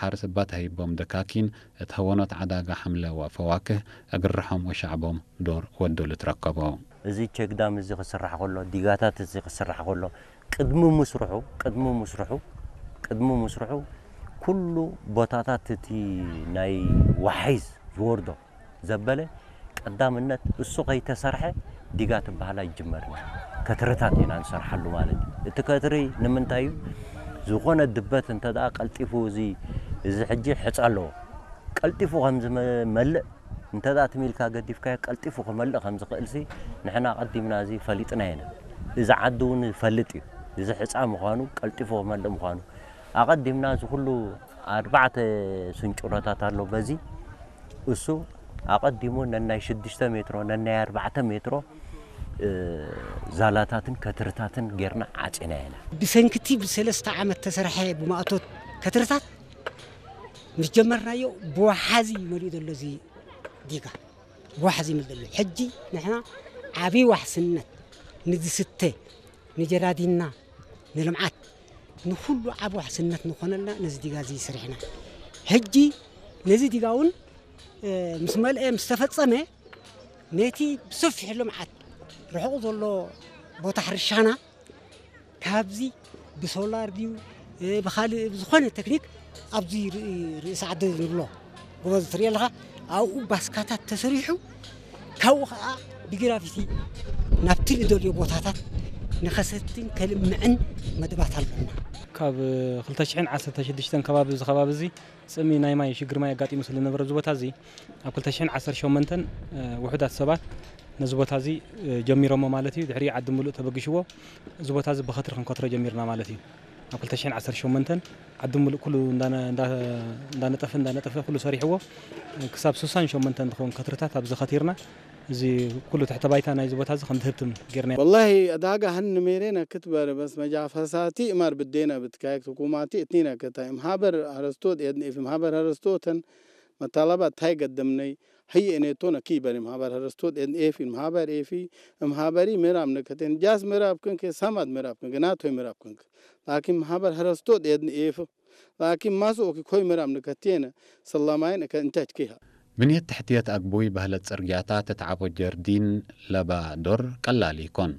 ሓርስ እባ ተሂቦም ደካኪን እት ሀወኖት ዓዳጋ ሓምለ ወፈዋክህ እግርሖም ወሻዕቦም ዶር ወዱሉ ትረከቦ። እዚ ቸግዳም እዚ ክስራሕ ከሎ፣ ዲጋታት እዚ ክስራሕ ከሎ፣ ቅድሚ ምስርሑ፣ ቅድሚ ምስርሑ፣ ቅድሚ ምስርሑ ኩሉ ቦታታት እቲ ናይ ዋሒዝ ዝወርዶ ዘበለ ቀዳምነት እሱ ከይተሰርሐ ዲጋ ትበሃላ ይጅመርና። ከትርታት ኢና ንሰርሓሉ ማለት እዩ። እቲ ከትሪ ንምንታይ እዩ? ዝኾነ ድበት እንተ ደኣ ቀልጢፉ እዚ፣ እዚ ሕጂ ሕጻ ኣለዎ። ቀልጢፉ ከም ዝመልእ እንተ ደኣ ትም ኢልካ ገዲፍካዮ ቀልጢፉ ክመልእ ከም ዝኽእልሲ ንሕና ኣቐዲምና እዚ ፈሊጥና ኢና። እዚ ዓዲ እውን ይፈልጥ እዩ። እዚ ሕጻ ምዃኑ፣ ቀልጢፉ ክመልእ ምዃኑ ኣቐዲምና እዚ ኩሉ ኣርባዕተ ስንጭሮታት ኣሎ። በዚ እሱ ኣቐዲሙ ነናይ ሽዱሽተ ሜትሮ፣ ነናይ ኣርባዕተ ሜትሮ፣ እ፣ ዛላታትን ከትርታትን ጌርና ዓጺና ኢና። ብሰንክቲ ብሰለስተ ዓመት ተሰርሐ ብማእቶት ከትርታት ምስ ጀመርናዮ ብወሓዚ መሊኡ ዘሎ እዚ ዲጋ፣ ብወሓዚ መሊኡ ዘሎ። ሕጂ ንሕና ዓብዪ ዋሕስነት ንዝስተ፣ ንጀራዲንና፣ ንልምዓት፣ ንኹሉ ዓቢ ዋሕስነት ንኾነልና ነዚ ዲጋ እዚ ሰሪሕና። ሕጂ ነዚ ዲጋ እውን፣ እ፣ ምስ መልአ፣ ምስ ተፈጸመ፣ ነቲ ብሰፊሑ ልምዓት ርሑቕ ዘሎ ቦታ ሕርሻና ካብዚ ብሶላር ድዩ፣ እ፣ ብኻልእ ብዝኾነ ቴክኒክ ኣብዚ ርኢ-፣ ርእሲ ዓዲ ንብሎ ጎቦ ትርኢ ኣለኻ፣ ኣብኡ ባስካታት ተሰሪሑ፣ ካብኡ ኸዓ ብግራቪቲ ናብቲ ንደልዮ ቦታታት ንኸሰትን ከልምዕን መደባት ኣሎና። ካብ ክልተ ሽሕን ዓሰርተ ሽዱሽተን ከባቢ፣ እዚ ከባቢ እዚ ጽምኢ ናይ ማይ ሽግር ማይ ኣጋጢሙ ስለ ዝነበረ፣ እዚ ቦታ እዚ ኣብ ክልተ ሽሕን ዓሰርተ ሸሞንተን፣ እ፣ ውሑዳት ሰባት ነዚ ቦታ እዚ፣ እ፣ ጀሚሮሞ ማለት እዩ። ድሕሪ ዓዲ ምሉእ ተበግሽዎ፣ እዚ ቦታ እዚ ብኸትሪ ክንከትሮ ጀሚርና ማለት እዩ። ኣብ ክልተ ሽሕን ዓሰርተ ሸሞንተን ዓዲ ምሉእ ኩሉ እንዳ-፣ እንዳ-፣ እንዳነጠፈ፣ እንዳነጠፈ ኩሉ ሰሪሕዎ፣ እ፣ ክሳብ ስሳን ሸሞንተን ዝኸውን ከትርታት ኣብዚ ከቲርና፣ እዚ ኩሉ ትሕተ ባይታ ናይዚ ቦታ እዚ ከም ዝህብትም ጌርና። والله ዕዳጋ هنميرنا ክትበር በስ መጃ ፈሳቲ እማር ብዴና ብትካይክ ትኩማቲ እትኒና ከታይ እምሃበር ሀረስቶት የድንኤፍ እምሃበር ሀረስቶተን መታላባት ታይ ገደምነይ ህይ እኔቶነ ኪበር እምሃበር ሀረስቶት የድንኤፍ እምሃበር ኤፊ እምሃበሪ ምዕራብ ነከቴን ጃስ ምዕራብ ክንክ ሳማት ምዕራብ ክንክ ናቶይ ምዕራብ ክንክ ላኪን እምሃበር ሀረስቶት የድንኤፍ ላኪን ማሱ ኦኪ ኮይ ምዕራብ ነከቴነ ሰላማይን እከ እንተች ኪሃ ብንየት ትሕትየት ኣግቡይ በህለት ጽርግያታት እት ዓቦ ጀርዲን ለባ ዶር ቀላል ኢኮን።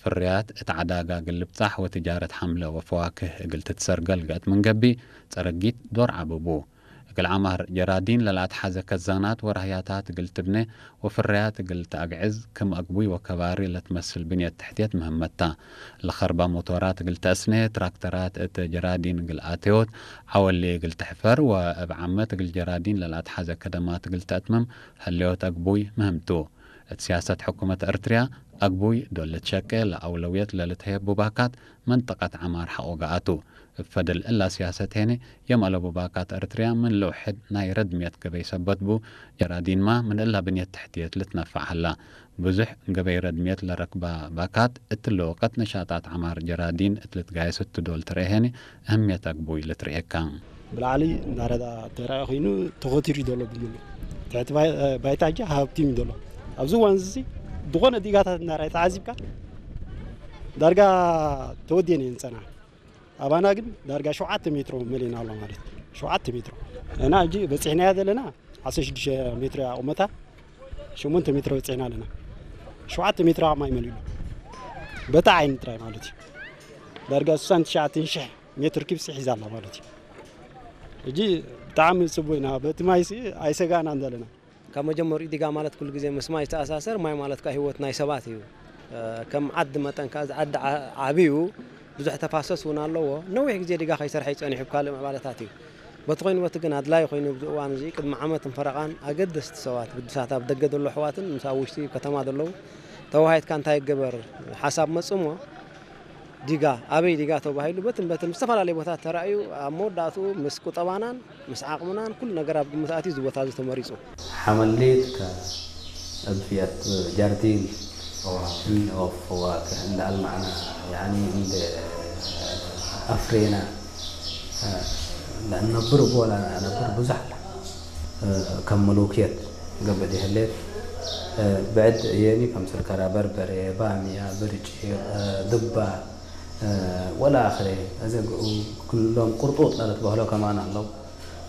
ፍርያት እት ዓዳጋ እግል ልብጻሕ ወትጃረት ሓምለ ወፈዋክህ እግል ትትሰርገል ገእት ምን ገቢ ጸረጊት ዶር ዓብቡ። እግል ዓማር ጀራዲን ለልኣትሓዘ ከዛናት ወራህያታት እግል ትብነ ወፍርያት እግል ተኣግዕዝ ክም ኣግቡይ ወከባሪ ለትመስል ብንየት ትሕትየት ምህመታ። ለኸርባ ሞቶራት እግል ተእስነ፣ ትራክተራት እት ጀራዲን እግል ኣተዮት፣ ዓወሌ እግል ትሕፈር ወእብ ዓመት እግል ጀራዲን ለልኣትሓዘ ከደማት እግል ተእትምም ህሌዮት ኣግቡይ ምህምቱ። እት ሲያሰት ሕኩመት ኤርትርያ፣ ኣግቡይ ዶል ልትሸቄ ለኣውለውየት ለልትሄብ ቡባካት መንጠቀት ዐማር ሐቆ ገኣቱ። እብ ፈድል እላ ሲያሰት ሄነ፣ የም ኣለቡ ባካት ኤርትርያ ምን ልውሕድ ናይ ረድምየት ገበይ ሰበት ቡ፣ ጀራዲንማ ምን እላ ብንየት ትሕትየት ልትነፋዕ ሀላ። ብዙሕ ገበይ ረድምየት ለረክባ ባካት፣ እትለ ወቀት ነሻጣት ዐማር ጀራዲን እት ልትጋየስ እቱ ዶል ትርኤ ሄነ፣ እህምየት ኣግቡይ ልትርኤካ። ብላዕሊ እንዳረዳ ተራኢ ኮይኑ ተኾቲሩ እዩ ዘሎ ብምሉ። ትሕቲ ባይ-፣ ባይታ ሕጂ ሃብቲም እዩ ዘሎ። ኣብዚ እዋን እዚ ዝኾነ ዲጋታት እንዳረኣየ ተዓዚብካ ዳርጋ ተወዲአን እየን ዝጸንሓ። ኣባና ግን ዳርጋ ሸውዓተ ሜትሮ መሊእና ኣሎ ማለት እዩ። ሸውዓተ ሜትሮ። እና ሕጂ በጺሕናያ ዘለና ዓሰርተ ሽዱሽተ ሜትሮ እያ ቁመታ፣ ሸሞንተ ሜትሮ በጺሕና ኣለና። ሸውዓተ ሜትሮ ኣብ ማይ መሊኡ ኣሎ። በታ ዓይኒ ጥራይ ማለት እዩ። ዳርጋ ስሳን ትሽዓተን ሽሕ ሜትር ኪብሲ ሒዛ ኣላ ማለት እዩ። ሕጂ ብጣዕሚ ጽቡቕ ኢና። በቲ ማይሲ ኣይሰጋእናን ዘለና። ካብ መጀመሪኡ ዲጋ ማለት ኩሉ ግዜ ምስ ማይ ዝተኣሳሰር፣ ማይ ማለት ከኣ ህይወት ናይ ሰባት እዩ። እ፣ ከም ዓዲ መጠን ከኣ እዚ ዓዲ ዓ-፣ ዓብዩ ብዙሕ ተፋሰስ እውን ኣለዎ። ነዊሕ ግዜ ዲጋ ከይሰርሐ እዩ ጸኒሑ ብካልእ ምዕባለታት እዩ። በቲ ኮይኑ በቲ ግን ኣድላዪ ኮይኑ ኣብዚ እዋን እዚ ቅድሚ ዓመትን ፈረቓን ኣገደስቲ ሰባት ግዱሳት ኣብ ደገ ዘሎ ኣሕዋትን ምስ ኣብ ውሽጢ ከተማ ዘለዉ ተወሃሂድካ እንታይ ይገበር ሓሳብ መጽእ እሞ ዲጋ፣ ኣበይ ዲጋ ተባሂሉ በትን በትን ዝተፈላለየ ቦታት ተራእዩ፣ ኣብ መወዳእትኡ ምስ ቁጠባናን ምስ ዓቕምናን ኩሉ ነገር ኣብ ግምት ኣትዩ እዚ ቦታ እዚ ተመሪጹ። حمليتك ألفية جاردين فواكه. إن أوف فواكه، إن المعنى يعني عند أفرينا، لأن نبر بولا نبر بزح، كم ملوكيت قبل يهلت، بعد يعني كم سكرة بربرة بامية برج، دبة، ወላ ኣኽረ፣ እዚ ኩሎም ቁርጡጥ ለትበህሎ ከማን ኣለዉ።